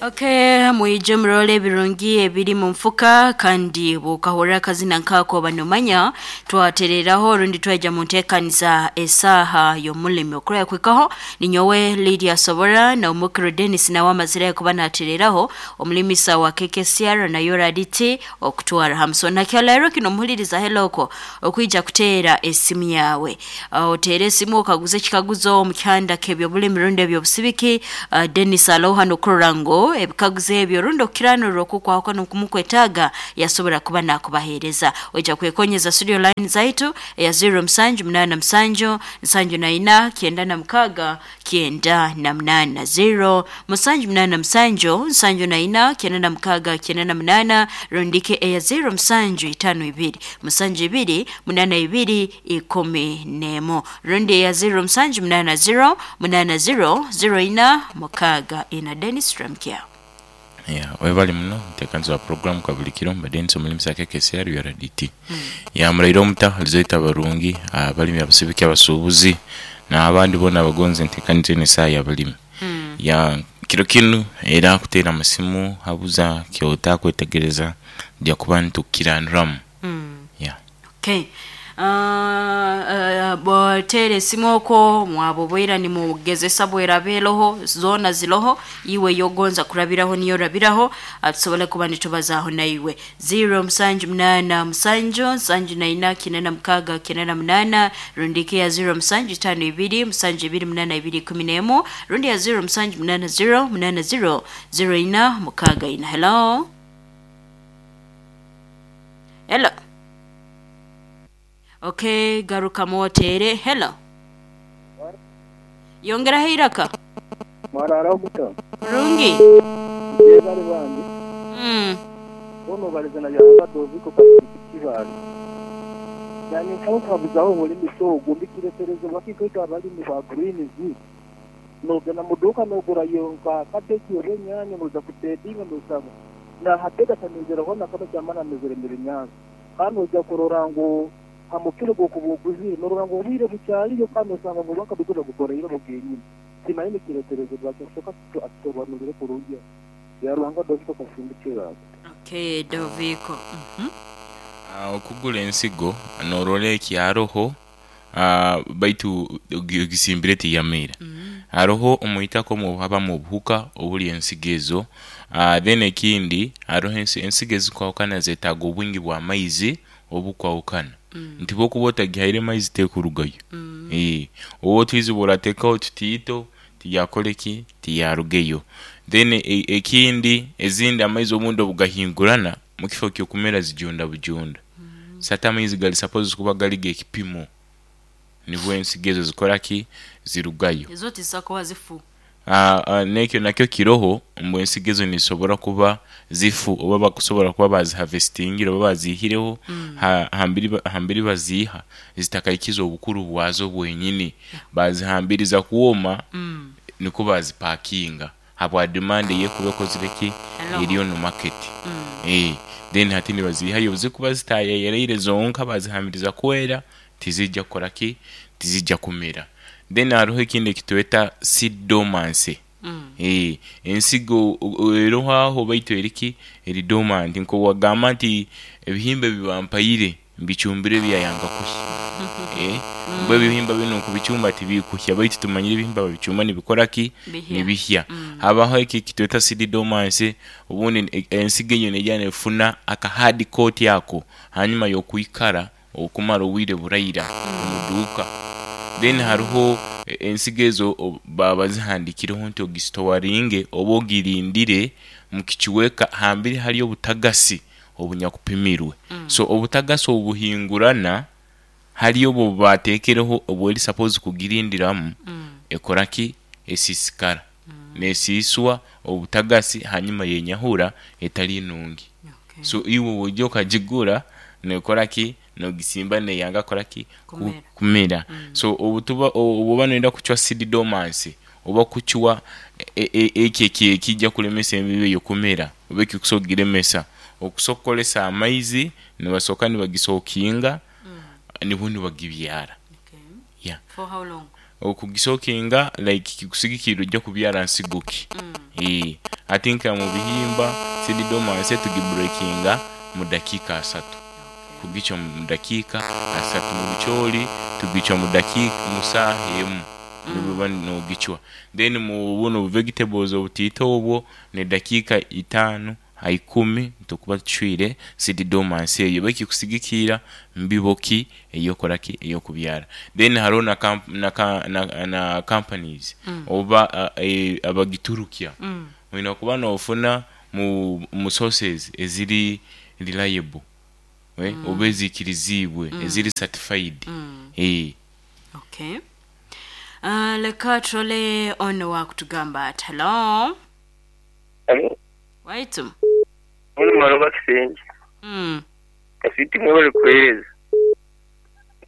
Okay, mwije murole ebirungi ebiri mu nfuka kandi bwokahurra akazina nkako oba nomanya twatereraho rundi twaija mu nteekaniza esaaha y'omulimi okurora kuhikaho. Ninyowe Lydia Sobora na omukiro Dennis nawe amazire kuba natereraho omulimisa wa KKCR na URDT okutwara hamusona kyaleero kino muhuliriza heloko okwija kuteera esimu yawe. Oteere esimu okaguze ekikaguzo omu kihanda k'ebyobulimi rundi ebyobusibiki. Dennis aloha nokurora ngu ebikaguzo ebyo rundi okukiranurra okukwahukana okumukwetaaga yasobora kuba nakubaheereza. Oija kwekonyeza studio line zaitu eya 0787 74 96 98, 0787 74 96 98, rundike eya 0752 72 82 11, rundi eya 0780 80 04 64. Dennis Ramkia. Yeah, webale muno muteekanizi wa puroguramu Kabulikiro, mba Denis omulimisa wa KKCR URDT. Yeah, muraire omuta lizoita abarungi, abalimi, abasibiki, abasuubuzi n'abandi boona abagonza enteekaniza eno esaaha y'abalimi. Yeah, kiro kinu era kuteera amasimu habuza ky'otakwetegereza tuja kuba nitukukiranuramu. Yeah. Okay. Boteera esimu okwo mwaba obwira nimugezesa bweraba eroho zoona ziroho iwe ey'ogonza kurabiraho niyo orabiraho, tusobole kuba nitubazaaho naiwe. 0787 74 96 98, rundi ya 0752 72 82 11, rundi ya 0780 80 04 64. Hello, hello. Okay, garukamu oteere. Hello, yongeraho eiraka. Mwarara muta? Kurungi. Mwebale bambi. Boona obalize na Byahanga Doviko Kasiriki Kibaale. Nanye nsaba okuhabuzaho omulimisa ogu mbikireterezebwa ki nkaitwe abalimi ba greens? Nogenda mu duuka nogurayo nka cabbage oba enyanya noija kubedinga nosanga nahatega tamizereho nakamwe kyamara amezere n'ebinyansi. Kandi noija kurora ngu ha mukiro gw'okuba oguzire norora ngu obwire bukyaliyo kandi nosanga ngu bakabigura bagukoreire bo genyini. Simanyi nikireterezebwa ki kusooka atusobanurire kurungi. Byaruhanga Doviko Kasimbi Kibaale. Okay, Doviko. Okugura ensigo norora ekyaroho baitu ogisimbire tiyamera. Haroho omwitaka omwo obuhabamu obuhuka obulya ensigo ezo. Then ekindi haroho ensigo ezikwahukana zetaaga obwingi bwa maizi obukwahukana. Nti bwokuba otagihaire maizi tekurugayo. Oba otwizi bworatekaho tutiito tiyakora ki? Tiyarugeyo. Then ekindi ezindi amaizi obundi obugahingurana mukifo kyokumera zijunda bujunda. So ate amaizi gali suppose kuba gali g'ekipimo nibwo ensigo ezo zikora ki? Zirugayo. Ezo tizisobola kuba zifu. N'ekyo nakyo kiroho mbu ensigo ezo nizisobora kuba zifu oba bakusobora kuba bazihavesitingire oba baziihireho hambiri baziiha zitakaikize obukuru bwazo bwenyini. Bazihambiriza kwoma nikwo bazipakinga habwa demand eyekuba ekozire ki? Eri onu market. Then hati nibaziihayo obuzikuba zitayeyereire zonka bazihambiriza kwera tizija kukora ki? Tizija kumera. Then haroho ekindi ekitweta seed dormancy. Ensigo eroho aho baitu eri ki? Eri dormant. Nk'owagamba nti ebihimba ebi bampaire mbicumbire byayanga kuhya. Mbu ebihimba binu nkubicumba tibikuhya baitu tumanyire ebihimba babicumba nibikora ki? Nibihya. Habaho eki ekitweta seed dormancy, obundi ensigo eyo neija nefuna aka hard coat ako hanyuma y'okwikara okumara obwire buraira omu duuka. Then haroho ensigo ezo baba bazihandikireho nti ogisitowaringe oba ogirindire mukicweka hambiri hali obutagasi obunyakupimirwe. So obutagasi obu buhingurana hali obu obubatekereho obweri suppose kugirindiramu ekora ki? Esiisikara. Nesiiswa obutagasi hanyuma yenyahura etali nungi. So iwe bwoija okagigura nekora ki? Nogisimba neyanga kukora ki? Kumera. So obutuba obwoba noyenda kucwa seed dormancy oba kucwa ekyo ekija kulemesa embibo eyo kumera oba ekikusobola okugiremesa, okusobola kukozesa amaizi nibasoka nibagisokinga nibwo nibagibyara. Yeah. For how long? Okugisokinga like kikusigikirra oija kubyara nsigo ki. Hati nka mu bihimba seed dormancy tugibreakinga mu dakiika asatu. Kugicwa mu dakiika asatu, mu bicooli tugicwa mu dakiika mu saaha emu nibuba nogicwa. Then mu bunu bu vegetables obutiito obwo n'edakiika itaanu ha ikumi tukuba tucwire seed dormancy eyo baitu kikusigikiira mbibo ki eyokoraki eyokubyara. Then haroho na na na companies oba abagiturukya oine kuba nofuna mu sources eziri reliable oba eziikiriziibwe eziri certified. Okay. Leka turole ono wakutugamba ati hello. Halo. Waitu. Ono Maloba Kisenge. Kaswiti mwebale kuhereza.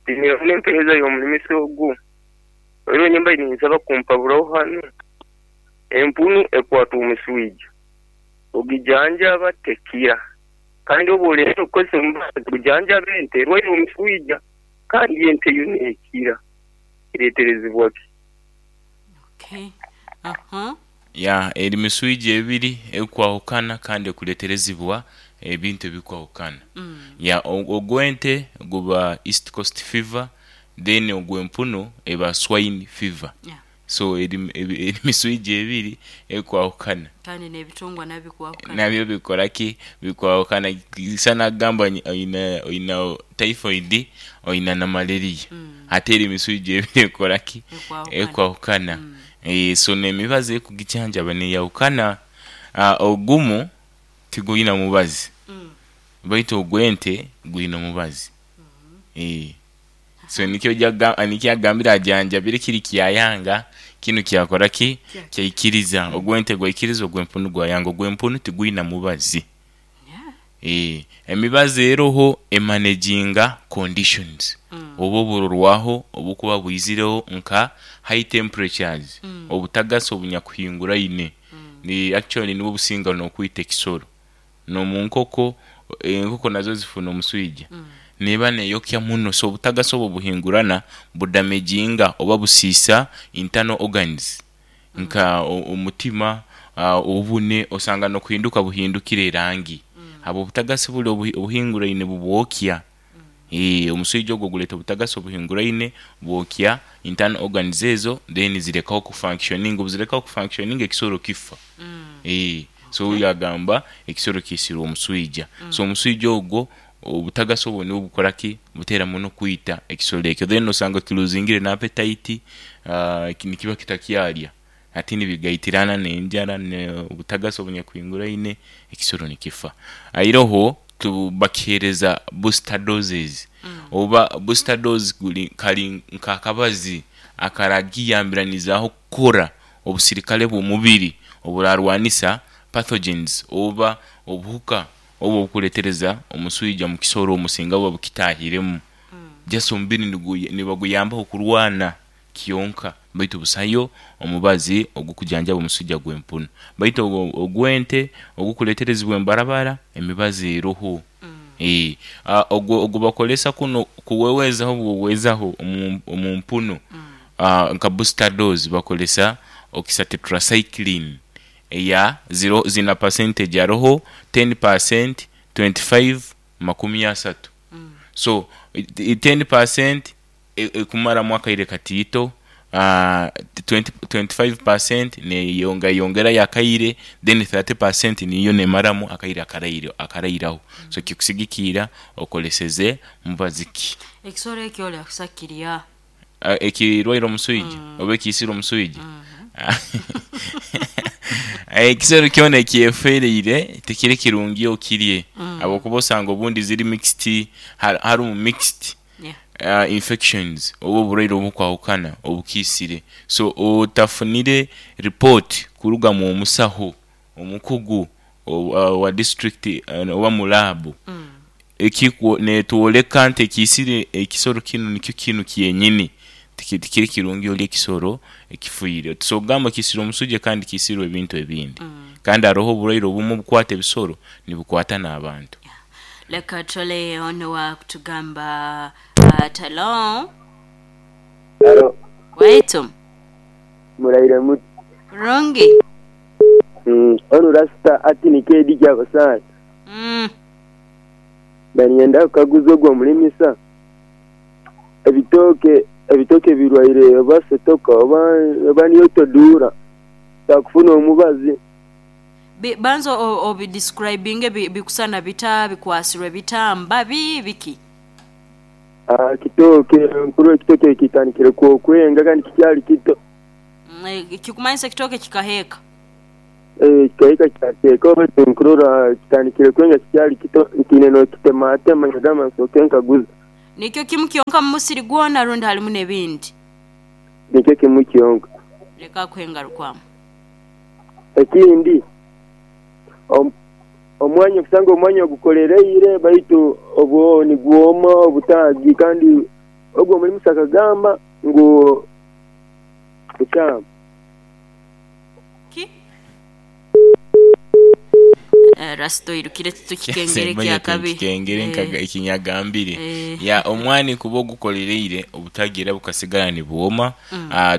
Ntiinire muno empereza y'omulimisa ogu. Era nyowe mbaire ninsaba kumpaburaho hanu. Empunu ekwata omuswija, ogijanjaba tekira. Kandi obu olengaho kukozesa omubazi gujanjaba ente erwaire omuswija kandi ente yo nekira. Kireterezibwa ki? Okay. Aha. Ya, eri miswija ebiri ekwahukana kandi ekuleterezibwa ebintu ebikwahukana. Ya, ogw'ente guba East Coast Fever, then ogw'empunu eba Swine Fever. Yeah. So eri eri miswija ebiri ekwahukana. Kandi n'ebitungwa nabyo bikwahukana. Nabyo bikora ki? Bikwahukana. Kisana kugamba oina oina typhoid oina na malaria. Ate eri miswija ebiri ekora ki? Ekwahukana. Ekwahukana. So n'emibazi ekugijanjaba neyahukana. Ogumu tigwina mubazi baitu ogw'ente gwine omubazi. So nikyo nikyo agambire ajanjabire kiri kyayanga kinu kyakora ki? Kyaikiriza. Ogw'ente gwaikiriza ogw'empunu gwayanga. Ogw'empunu tigwina mubazi. Emibazi eroho emanaginga conditions oba oburorwaho obukuba bwizireho nka high temperatures, obutagasi obunyakuhinguraine ni actually nibwo businga n'okwita ekisoro. N'omu nkoko, enkoko nazo zifuna omuswija, neeba neyokya muno so obutagasi obwo obuhingurana budamaginga oba busiisa internal organs nka omutima, obune osanga n'okuhinduka buhindukire erangi habw'obutagasi buli obuhinguraine bubwokya. Omuswija ogwo guleeta obutagasi obuhinguraine bwokya internal organs ezo then zirekaho kufunctioninga, obuzirekaho kufunctioninga ekisoro kifa. So oyo agamba ekisoro kiisirwe omuswija. So omuswija ogwo obutagasi obwo nibwo bukora ki? Butera muno kwita ekisoro ekyo then osanga kiluzingire n'apetite nikiba kitakyarya. Hati nibigaitirana n'enjara n'obutagasi obunyakuhinguraine ekisoro nikifa. Airoho bakihereza booster doses oba booster dose guri kari nk'akabazi akaragiyambiranizaaho kukora obusirikare bw'omubiri oburarwanisa pathogens oba obuhuka obu obukuletereza omuswija omu kisoro omu singa buba bukitahiremu. Just omubiri nibaguyambaho kurwana kyonka baitu busayo omubazi ogukujanjaba omuswija gw'empunu. Baitu ogw'ente ogukuleterezibwa embarabara emibazi eroho. Ogwo ogubakoresa kunu kuwewezaho buwewezaho omu mpunu nka booster dose bakoresa oxytetracycline eya zina percentage haroho ten percent, 25, makumi asatu. So ten percent ekumaramu akaire katiito, 25% neyongayongerayo akaire, then 30% niyo nemaramu akaire akarairaho. So kikusigikiira okoleseze mubazi ki. Ekisoro ekyo oli akusa kirya. Ekirwaire omuswija oba ekiisire omuswija? Ekisoro kyona ekyefereire tikiri kirungi okirye habwokuba osanga obundi ziri mixed, harumu mixed infections oba oburwaire obukwahukana obukiisire. So otafunire report kuruga mu musaho omukugu owa disiturikiti oba mu laabu netwoleka nti ekiisire ekisoro kinu nikyo kinu kyenyini, tikiri kirungi orye ekisoro ekifiire. Tosobora kugamba kiisirwe omuswija kandi kiisirwe ebintu ebindi. Kandi haroho oburwaire obumu obukwata ebisoro nibukwata n'abantu. Leka tutole ono owakutugamba ati halo. Halo. Waitu. Muraire muti? Kurungi. Onu Rasita ati ni KD Kyabasaani. Mbaire niinyenda kukaguza ogwo omulimisa, ebitooke ebitooke birwaire oba setoka oba niyo toduura nshobora kufuna omubazi? Banza obidisikurayibinge, bikusana bita, bikwasirwe bita, mbabi, biki? Kitooke, nkurora ekitooke kitandikire okwenga kandi kikyali kito. Kikumanyisa ekitooke kikaheeka? Eeh kikahika kyateeka baitu nkurora kitandikire kwenga kikyali kito ntiine n'okitematema nagamba nsooke nkaguze. Nikyo kimu kyonka mu musiri gwona rundi halimu n'ebindi? Nikyo kimu kyonka. Leka akuhe engarukwamu. Ekindi, omwanya okusanga omwanya ogukolereire baitu obwo nigwoma obutaagi kandi ogwo omulimisa akagamba ngu bukyamu. Ki? Rasita oirukire titukikengere ekyakabi. Kikengere ekinyagambire. Ya omwani kuba ogukolereire obutaagi era bukasigara nibwoma.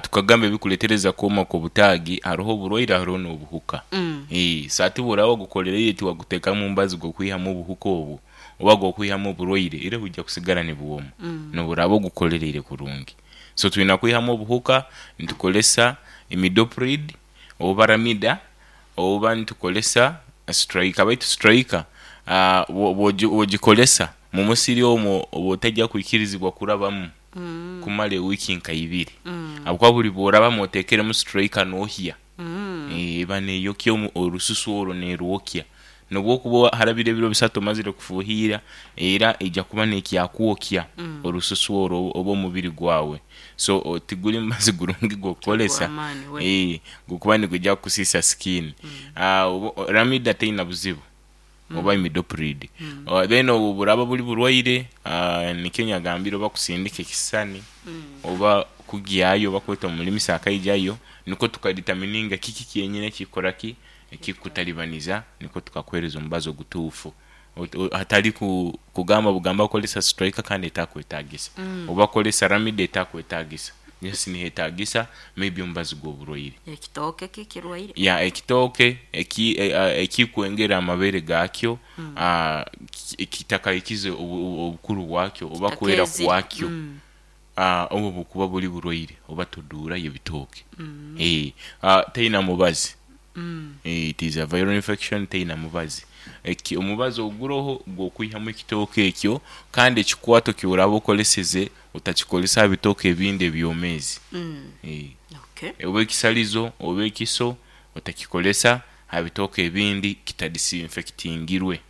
Tukagamba ebikuletereza kwoma kw'obutaagi haroho oburwaire haroho n'obuhuka. So hati bworaba ogukolereire tiwagutekamu mubazi gw'okwihamu obuhuka obwo oba gw'okwihamu oburwaire era bwija kusigara nibwoma n'oburaba ogukolereire kurungi. So twina kwihamu obuhuka nitukozesa imidoprid oba ramida oba nitukozesa striker baitu striker bwogikozesa mumusiri omwo oba otaija kwikirizibwa kurabamu kumara ewiiki nka ibiri habwokuba buri bworabamu otekeremu striker nohya eba neyokya orususu orwo nerwokya nobwokuba harabire ebiro bisatu omazire kufuhirra era eija kuba nekyakwokya orususu orwo oba omubiri gwawe so tiguri mubazi gurungi gwokukozesa gukuba nigwija kukusisa skin. Ramida teina buzibu oba imidoprid then obwo buraba buri burwaire nikyo nyagambire oba kusindika ekisisani oba kugyayo oba kweta omulimisa akaijayo nikwo tukaditamininga kiki kyenyini ekikukora ki ekikukutalibaniza nikwo tukakuhereza omubazi ogutuufu hatari kugamba bugamba kozesa striker kandi etakwetagisa oba kozesa ramida etakwetagisa just nihetagisa maybe omubazi gw'oburwaire. Ekitooke kikirwaire. Ya ekitooke ekikwengera amabere gakyo kitakaikize obukuru bwakyo oba kwera kwakyo obwo bukuba buri burwaire oba toduura y'ebitooke. Teina mubazi, it is a viral infection teina mubazi. Omubazi oguroho gw'okwihamu ekitooke ekyo kandi ekikwato ky'oraba okoleseze otakikozesa aha bitooke ebindi ebyomeezi. Oba ekisalizo oba ekiso otakikozesa aha bitooke ebindi kitadisinfekitingirwe.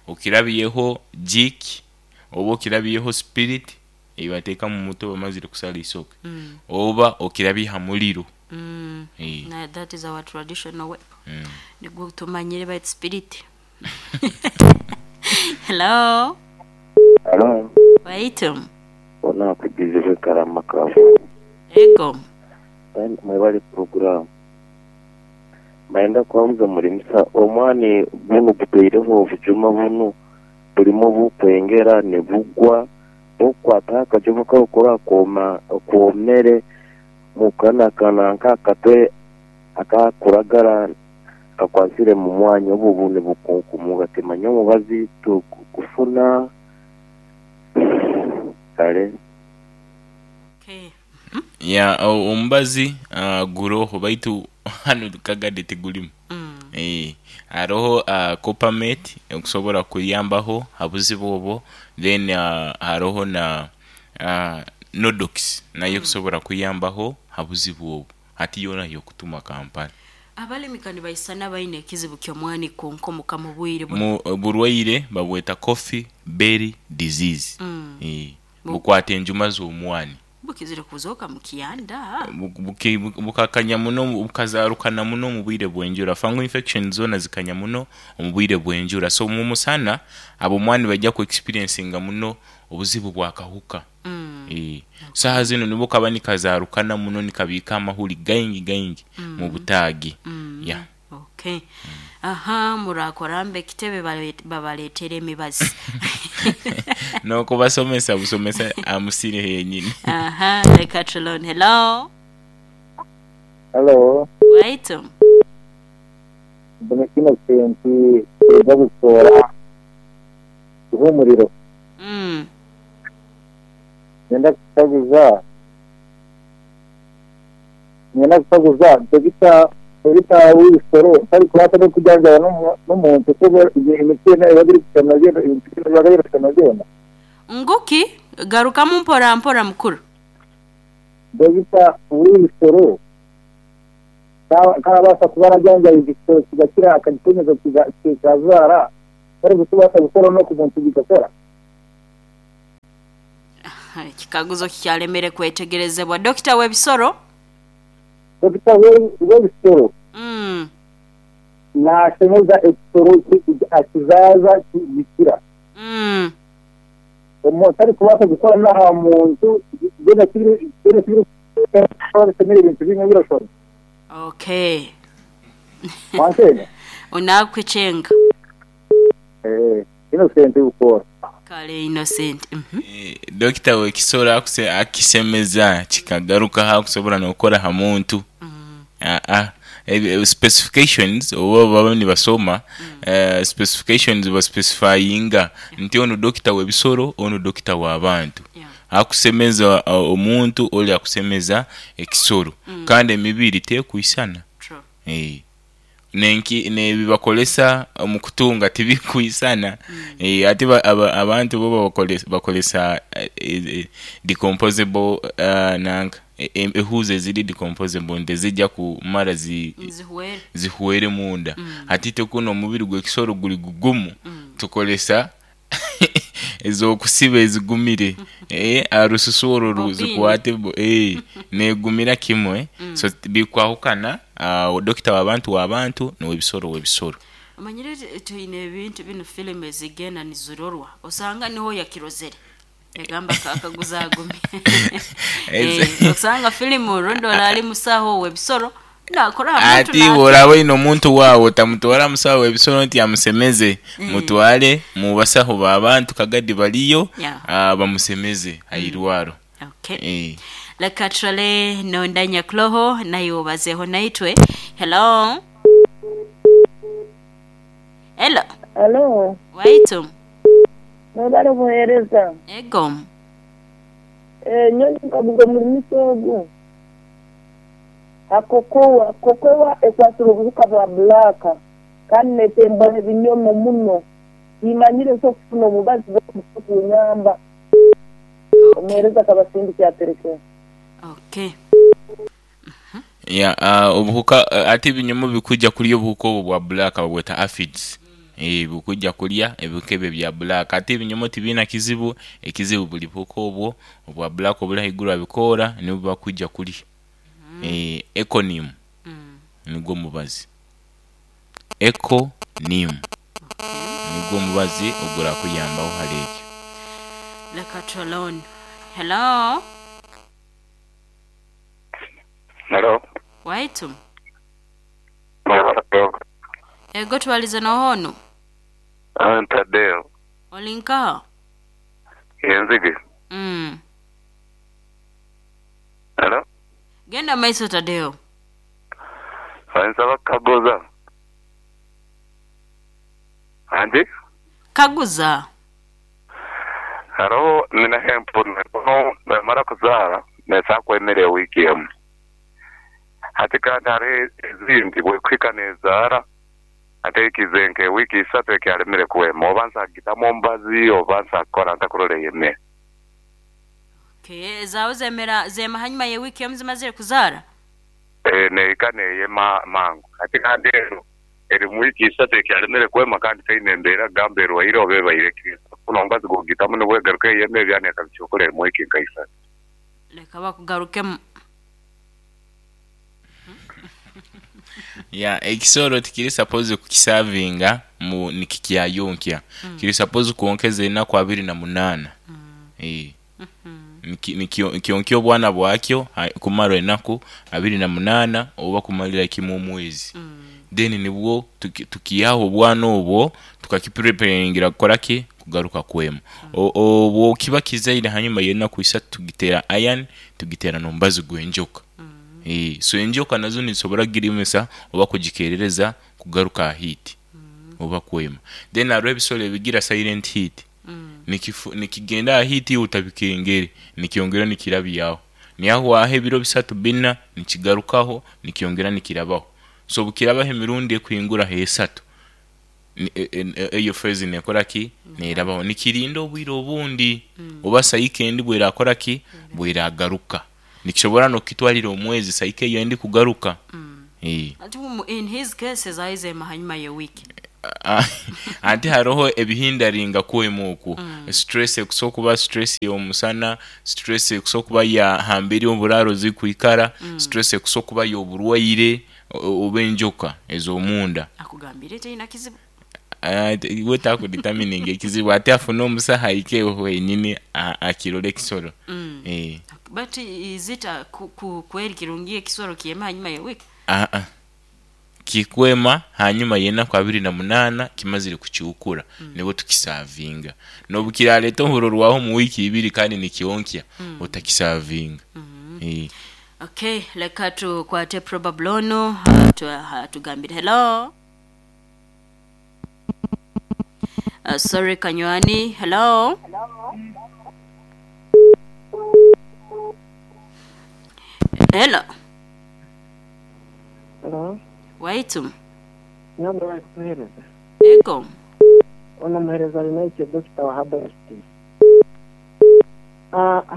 Okirabyeho jik oba okirabyeho spirit eibateeka mu muto bamazire kusala eisoke oba okirabye ha muriro. That is our traditional way. Nigwo tumanyire baitu spirit. Hello. Halo. Waitu. Ona akugizibwe Karama Kavuma. Ego. Mwebale puroguramu. Mayenda kuhabuza mulimisa omwani gunu gutaireho obujuma bunu bulimu obukwengera nibugwa bukukwata akajuma karukura kwoma kwomere mukanakana nk'akatwe akakuragara kakwasire mu mwanya obu nibukunkumuka timanya omubazi tukufuna kale. Okay. Ya omubazi guroho baitu hanu Kagadi tigurimu. Haroho coppermate okusobora kuyambaho ha buzibu obwo then haroho na nodox nayo ekusobora kuyambaho ha buzibu obwo hati yoona yokutuma Kampala. Abalimi kanibaisana baine ekizibu ky'omwani kunkomoka mu bwire buno. Burwaire babweta coffee berry disease. Bukwata enjuma z'omwani. Bukizire kuzooka mu kyanda. Bukakanya muno bukazarukana muno omu bwire bw'enjura. Fungal infection zoona zikanya muno omu bwire bw'enjura. So mu musana ab'omwani nibaija ku experiencinga muno obuzibu bw'akahuka. Saaha zinu nibwo kaba nikazarukana muno nikabiika amahuri gaingi gaingi mu butaagi. Yeah. Okay. Aha, murakora mbe ekitebe babaleetere emibazi. N'okubasomesa busomesa amusiri henyini. Aha, leka tulone. Hello. Halo. Waitu. Mbona Innocent kuruga Busoora Ihumuriro. Nyenda kukaguza nyenda kukaguza dogita dogita w'ibisoro tarikubaasa n'okujanjaba n'omuntu kuba emiti eba erikushana byona ebintu biba birikushana byona. Nguki garukamu mpora mpora mukuru. Dogita w'ibisoro karabaasa kuba arajanjaba ekisoro kigakira akagikomeza kikazaara tarikubaasa gukora n'oku muntu bigakora. Ekikaguzo kikyalemere kwetegerezebwa. Dokita w'ebisoro? Dokita w'ebisoro nashemeza ekisoro akizaza kigikira. Tarikubaasa gukora n'aha muntu byona kiri bisemere ebintu bimwe birashona. Okay. Wansenya? Unakuchenga. Innocent ukora. Kale Innocent. Dokita w'ekisoro akisemeza kikagaruka hakusobora n'okukora ha muntu. Specifications oba baba nibasoma specifications baspecifyinga nti ono dokita w'ebisoro ono dokita w'abantu. Akusemeza omuntu oli akusemeza ekisoro. Kandi emibiri tekwisana. Nenki nebibakolesa omu kutunga tibikwisana. Ate abantu bo bakolesa decomposable nanka ehuzi eziri decomposable ntezijja kumara zihwere munda. Ati tekuno omubiri gw'ekisoro guli gugumu tukolesa ez'okusiba ezigumire arususu orwo zikwate negumira kimwe. So bikwahukana dokita w'abantu w'abantu n'ow'ebisoro w'ebisoro. Amanyire tuyine ebintu bino filime ezigenda nizirorwa osanga niho yakirozere yagamba akaguza agumye. Osanga filimu rundo ali musaho w'ebisoro nakora ati woraba ino omuntu wawe otamutwara musaho w'ebisoro nti amusemeze. Mutwale mu basaho b'abantu kagadi baliyo bamusemeze airwaro. Okay. Leka turale nondanya kloho nayo bazeho naitwe. Hello. Hello. Hello. Waitu. Mwebale buhereza. Ego. Nyonyi kabuga mulimiso ogu. Akokowa, kokowa ekwasira obuhuka bwa black. Kandi netemba ebinyomo muno. Imanyire so kufuna omubazi bw'okunyamba. Omuhereza kabasindi kyatereke. Okay. Ya obuhuka ate ebinyomo bikujja kulya obuhuka obwo bwa black babweta aphids. Bukujja kulya ebikebe bya black. Ate ebinyomo tibina kizibu, ekizibu buli buhuka obwo obwa black obuli haiguru abikoora nibwo bakujja kulya. Econym. Nigwo mubazi. Econym. Nigwo mubazi ogura kuyambaho hali ekyo. Leka tulone. Hello. Hello. Waitu. Ego twalize nohono. Tadeo. Olinka. Yenzige. Hello. Genda maiso Tadeo. Nsaba kaguza. Andi? Kaguza. Haro nina hempu no mara kuzara nesa kwemere wiki emu. Ati kandi hari ezindi bwekwika nezara ate ikizenke wiki isatu ekyalemere kuwema oba nsagitamu omubazi oba nsakora ntakurora yeme. Okay, zawe zemera zema hanyuma ye wiki emu zimazire kuzara? Neika neyema mangu. Ati kandi ero eri mu wiki isatu ekyalemere kuwema kandi teine embeera gamba erwaire oba ebaire kuno omubazi gugitamu nibwegaruka eyeme ebyaneka bikyokora mu wiki nka isatu. Leka bakugarukemu. Ya ekisoro tikiri suppose kukisavinga mu nikikyayonkya. Kiri suppose kuonkeza enaku 28. Nikyonkyo obwana bwakyo kumara enaku 28 oba kumalira kimu omwezi. Then nibwo tukiyaho obwana obwo tukakipreparingira kukora ki kugaruka kwema. Obwo kiba kizaire hanyuma y'enaku 3 tugitera iron tugitera nombazi gwenjoka. So enjoka nazo nizisobora kugirimisa oba kugikerereza kugaruka ha heat oba kwema. Then hariho ebisoro ebigira silent heat, nikigenda aha heat iwe otabikengere, nikyongera nikirabyaho, nihahwaho ebiro 3, 4, nikigarukaho nikyongera nikirabaho. So obukirabaho emirundi ekuhingura h'esatu, eyo phase nekoraki, nerabaho, nikirinda obwire obundi oba cycle endi bwerakoraki, bweragaruka. Nikisobora n'okukitwarira omwezi cycle eyo endi kugaruka. Ati in his case zaizemu hanyuma y'ewiiki. Anti haroho ebihindaringa kwema okwo, stress ekusobola kuba stress y'omusana, stress ekusobola kuba ya hamberi oburaaro zikwikara, stress ekusobola kuba y'oburwaire oba enjoka ez'omunda. Akugambire taina kizibu. We takudetermininga ekizibu, ate afune omusaho ahike wenyini akirole ekisoro. But is it kweri kirungi ekisoro kyema hanyuma y'ewiiki? Aa, kikwema hanyuma y'enaku 28 kimazire kukyukura, nibwo tukisavinga. N'obukiraleeta oburorwaho omu wiiki ibiri kandi nikyonkya, otakisavinga. Okay, leka tukwate probable ono atugambire. Hello. Sorry Kanywani. Hello. Hello. Hello. Waitu. Nyamara bari kutuhereza. Ego. Ono muhereza ari nawe Dr. wa Herbal.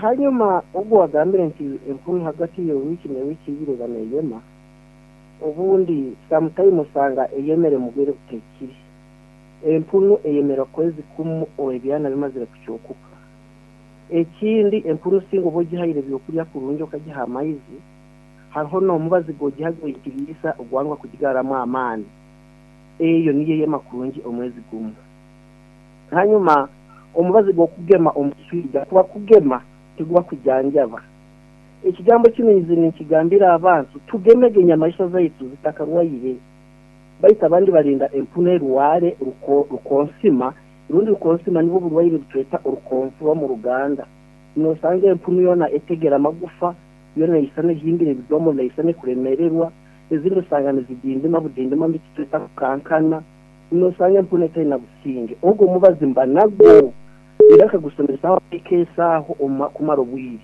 Hanyuma ubwo wagambire nti empunu hagati yo wiki ne wiki ibiri baneyema, obundi sometime usanga eyemere mugwire kutekiri. Empunu eyemera kwezi kumu ebyana bimazire kucokuka. Ekindi empunu singo bogihayire byokulya kurungi okagiha amaizi, hariho n'omubazi gogihaga ekiriisa ogwangwa kugigaramu amaani. Eyo niyo eyema kurungi omwezi gumu. Hanyuma omubazi gw'okugema omuswija kuba kugema tiguba kujanjaba. Ekigambo kino nze ninkigambira abantu, tugemege enyamaisha zaitu zitakarwaire. Baitu abandi barinda empunu erware rukonsima, rundi rukonsima nibwo burwaire butweta orukonfura mu Ruganda. Nosanga empunu yona etegera amagufa, yona isana ehimbire ebidomo, neisana ekuremererwa, ezindi osanga nizidindima budindima mbitweta kukankana. Nosanga empunu etaina businge. Ogwo mubazi mba nagwo era akagusomesa ekesaho kumara obwire.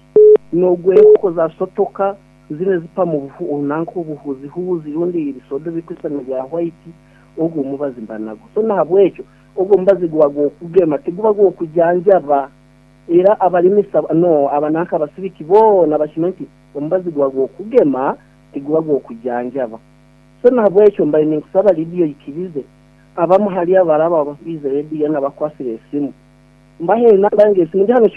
Nogwe za sotoka zine zipa mu buhu onanko obuhuzihuzi rundi ibisodo bikwisana bya white, ogwo mubazi mba nagwo. So nahabwekyo ogwo mubazi gwa gwokugema tiguba gwokujanjaba. Era abalimisa no abananka abasibiki bona bashimenti omubazi gwa gwokugema tiguba gwokujanjaba. So nahabwekyo mbaye ninkusaba radio ikirize abamu hali abaraba ababize radio n'abakwasire esimu. Mbahe namba yange esimu ndi hano.